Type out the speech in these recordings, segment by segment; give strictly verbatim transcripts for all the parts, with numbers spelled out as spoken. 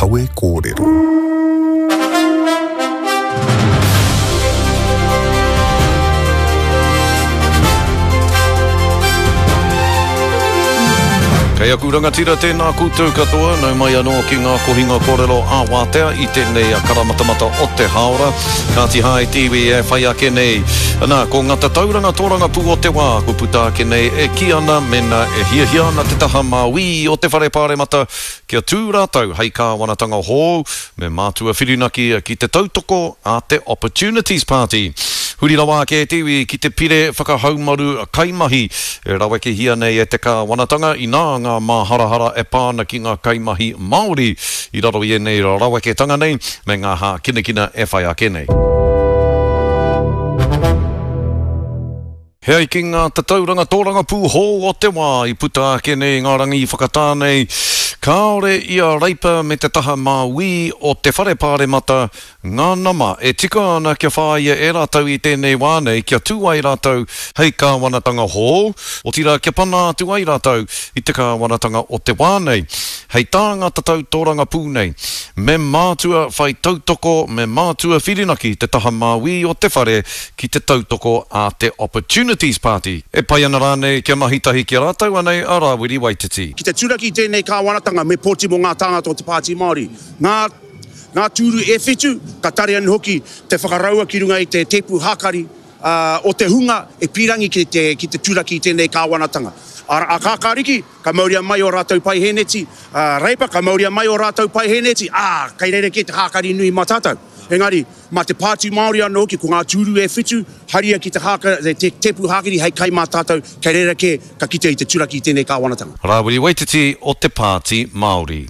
Kawe Kōrero. Kei aku rangatira tēnā koutou katoa, nau mai anō ki ngā kohinga kōrero ā wātea i tēnei karamatamata o te hāora. Kāti Hae te iwi e whai ake nei. Nā, ko ngā tatauranga tōrangapū o te wā, kua puta ake nei e kī ana mēnā e hiahia ana te taha māui o te whare pāremata kia tū rātou hei kāwanatanga hou me mātua whirinaki ki te tautoko a te Opportunities Party. Huri rawa ake e te iwi ki te pire whakahaumaru kaimahi e rawekehia nei e te kāwanatanga inā ngā māharahara e pā ana ki ngā kaimahi Māori i raro i ēnei raweketanga nei me ngā hākinakina e whai ake nei. He ai ki ngā tatauranga tōrangapū hou o te wā i puta ake nei ngā rangi whakatā nei, kāore i a Reipa me te taha māui o te whare pāremata ngā nama e tika ana kia whāia e rātou i tēnei wā nei kia tū ai rātou hei kāwanatanga hou, otirā kia pana atu ai rātou i te kāwanatanga o te wā nei. Hei tā ngā tatau tōrangapū nei, me mātua whai tautoko, me mātua whirinaki te taha māui o te whare ki te tautoko a te Opportunities Party. E pai ana rānei kia mahi tahi ki a rātou anei a Rāwiri Waititi. Ki te turaki tēnei kāwanatanga me pōti mō ngā tāngata o te Pāti Māori. Ngā, ngā tūru e whitu, ka tare anō hoki te whakaraua ki runga i te tēpu hākari uh, o te hunga e pīrangi ki te, ki te turaki i tēnei kāwanatanga. A, a kākāriki, ka mauria mai o rātou paiheneti, a Reipa, ka mauria mai o rātou paiheneti, ā, kei reira kē te hākari nui mā tātou. Engari, mā te Pāti Māori anō hoki, ko ngā tūru e whitu, haria ki te, hāka, te tēpu hākari hei kai mā tātou, kei reira kē ka kite i te turaki i tēnei kāwanatanga. Rāwiri Waititi o te Pāti Māori.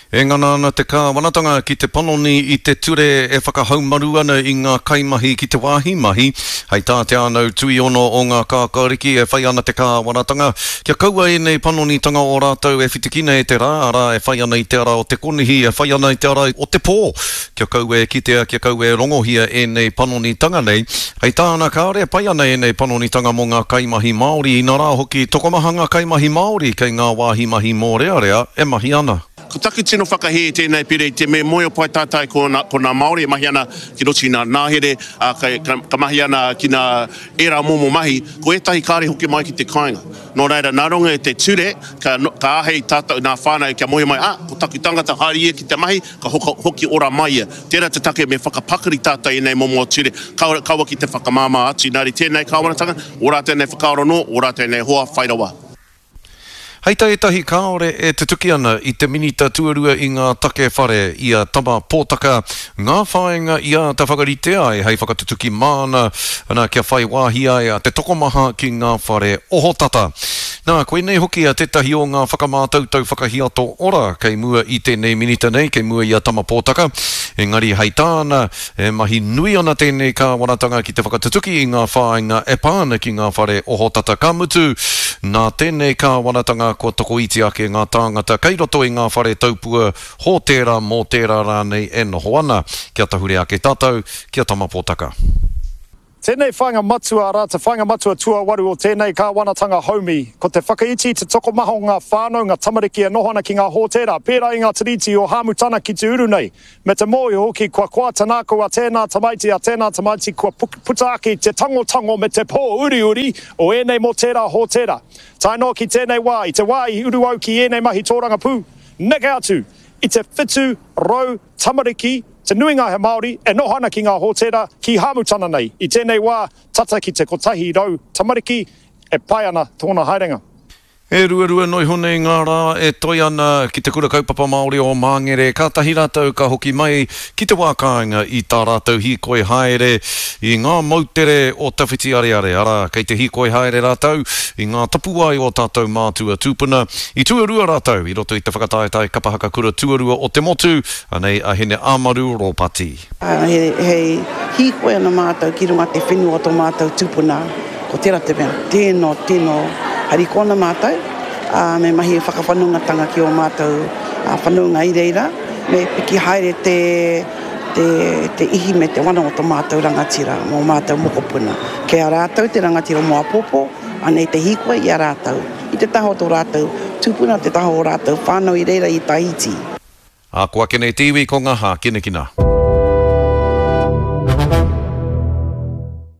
E ngana ana te kāwanatanga ki te panoni i te ture e whakahaumaru ana i ngā kaimahi ki te wāhi mahi. Hei tā te ānau tuiono o ngā kākāriki e whai ana te kāwanatanga kia kaua ēnei panonitanga o rātou e whitikina e te rā, arā e whai ana i te ara o te konihi, e whai ana i te ara o te pō. Kia kaua e kitea, kia kaua e rongohia ēnei panonitanga nei. Hei tāna kāore e pai ana ēnei panonitanga mō ngā kaimahi Māori, inarā hoki tokomaha ngā kaimahi Māori kei ngā wāhi mahi mōrearea e mahi ana. Ko taku tino whakahē i tēnei pire i te me moe o pai tātai ko nā, ko nā Māori e mahi ana ki roto i nā nāhere, ā, ka, ka, ka mahi ana ki nā ērā momo mahi, ko ētahi kāre hoki mai ki te kāinga. Nō reira, nā runga i te ture, ka, ka āhei tātou nā whānau kia moe mai, ā, ko taku tangata haere ia ki te mahi, ka hoka, hoki ora mai ia. Tērā te take me whakapakari tātou i ēnei momo ture, kaua, kaua ki te whakamāmā atu. Nā reira, tēnei kāwanatanga, ō rātou nei whakaaro nō, ō rātou nei hoa whai rawa. Hei tā ētahi kāore e tutuki ana i te minita tuarua i ngā take whare i a Tama Pōtaka ngā whāinga i āta whakarite ai hei whakatutuki māna ana kia whai wāhi ai a te tokomaha ki ngā whare ohotata. Nā, koinei hoki a tētahi o ngā whakamātautau whakahiato ora kei mua i tēnei minita nei, kei mua i a Tama Pōtaka. Engari hei tāna, e mahi nui ana tēnei kāwanatanga ki te whakatutuki i ngā whāinga e pā ana ki ngā whare ohotata. Ka mutu, nā tēnei kāwanatanga kua tokoiti ake ngā tāngata kei roto i ngā whare taupua hōtēra mō tērā rānei e noho ana. Kia tahure ake tātou, kia Tama Pōtaka. Tēnei whāinga matua, arā te whāinga matua tuawaru o tēnei kāwanatanga haumi, ko te whakaiti te tokomaha o ngā whānau, ngā tamariki e noho ana ki ngā hōtēra, pērā i ngā tiriti o Hāmutana ki te uru nei. Me te mōhio hoki kua koa te nākau a tēnā tamaiti, a tēnā tamaiti kua puta ake te tangotango me te pō uriuri o ēnei mō tērā hōtēra. Tae noa ki tēnei wā, i te wā i uru au ki ēnei mahi tōrangapū, neke atu i te whitu rau tamariki, te nuinga he Māori, e noho ana ki ngā hōtēra ki Hāmutana nei. I tēnei wā, tata ki te kotahi rau tamariki e pai ana tōna haerenga. E ruarua noa iho nei ngā rā e toi ana ki te kura kaupapa Māori o Māngere, kātahi rātou ka hoki mai ki te wā kāinga i tā rātou hīkoi haere i ngā moutere o Tawhiti Areare, arā, kei te hīkoi haere rātou i ngā tapuwae o tātou mātua tūpuna. I tuarua rātou i roto i te whakataetae kapa haka kura tuarua o te motu, anei a Hine Āmaru Rōpati. He, he hīkoi ana mātou ki runga te whenua o tō mātou tūpuna, ko tērā te mea, tēno, tēno, harikoa ana mātou, ā, me mahi whakawhanaungatanga ki ō mātou whanaunga i reira, me piki haere te, te, te ihi me te wana o tō mātou rangatira, mō mātou mokopuna. Kei a rātou te rangatira mō apopo, anei te hīkoi i a rātou, i te taha o tō rātou tūpuna, te taha o rātou whānau i reira i Tahiti. Ā, ko ake nei te iwi ko ngā hākinakina.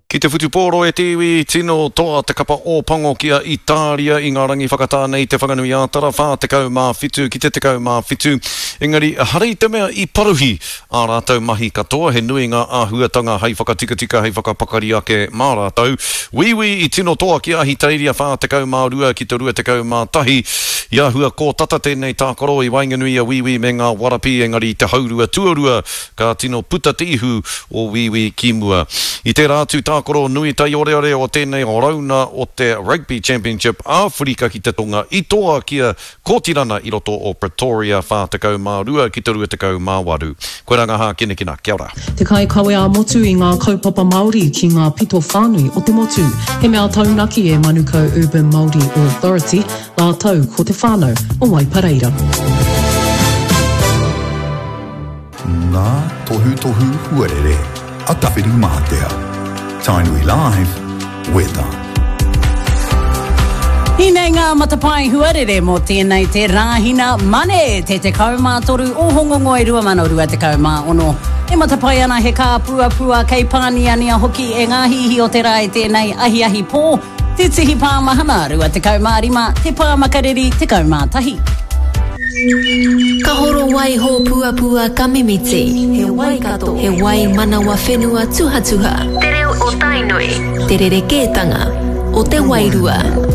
Ki te whutupōro e te iwi, tino toa te kapa Ōpango ki a Itāria i ngā rangi whakatā nei Te Whanganui-ā-Tara whā tekau mā whitu ki te tekau mā whitu. Engari, ehara i te mea i paruhi ā rātou mahi katoa, he nui ngā āhuatanga hei whakatikatika, hei whakapakari ake mā rātou. Wīwī i tino toa ki a Ahitereiria whā tekau mā rua ki te rua tekau mā tahi. I āhua kōtata tēnei tākaro i waenganui i a Wīwī me ngā Warapī, engari i te haurua tuarua ka tino puta te ihu o Wīwī ki mua. I tērā atu tākaro nui taioreore o tēnei rauna o te Rugby Championship Āwherika ki te Tonga i toa ki a Kōtirana i roto o Pretoria whā tekau mā rua ki te rua tekau mā waru. Koirā ngā hākinakina. Kia ora. Te kaikawe ā-motu i ngā kaupapa Māori ki ngā pito whānui o te motu. He mea taunaki e Manukau Urban Māori Authority rātou ko te whānau o Waipareira. Ngā tohutohu huarere a Tawhirimātea. Tainui Live, Weather. Hinei ngā matapae huarere mō tēnei te Rāhina Mane, te tekau mā toru o Hongongoi rua mano rua tekau mā ono. E matapae ana he kāpuapua kei pāniania hoki e ngā hihi o te rā i tēnei ahiahi pō, te tihi pāmahana rua tekau mā rima, te pā makariri tekau mā tahi. Ka horo wai hōpuapua ka mimiti. He wai kato. He wai manawa whenua tuhatuha. Te reo o Tainui. Te rerekētanga o te wairua.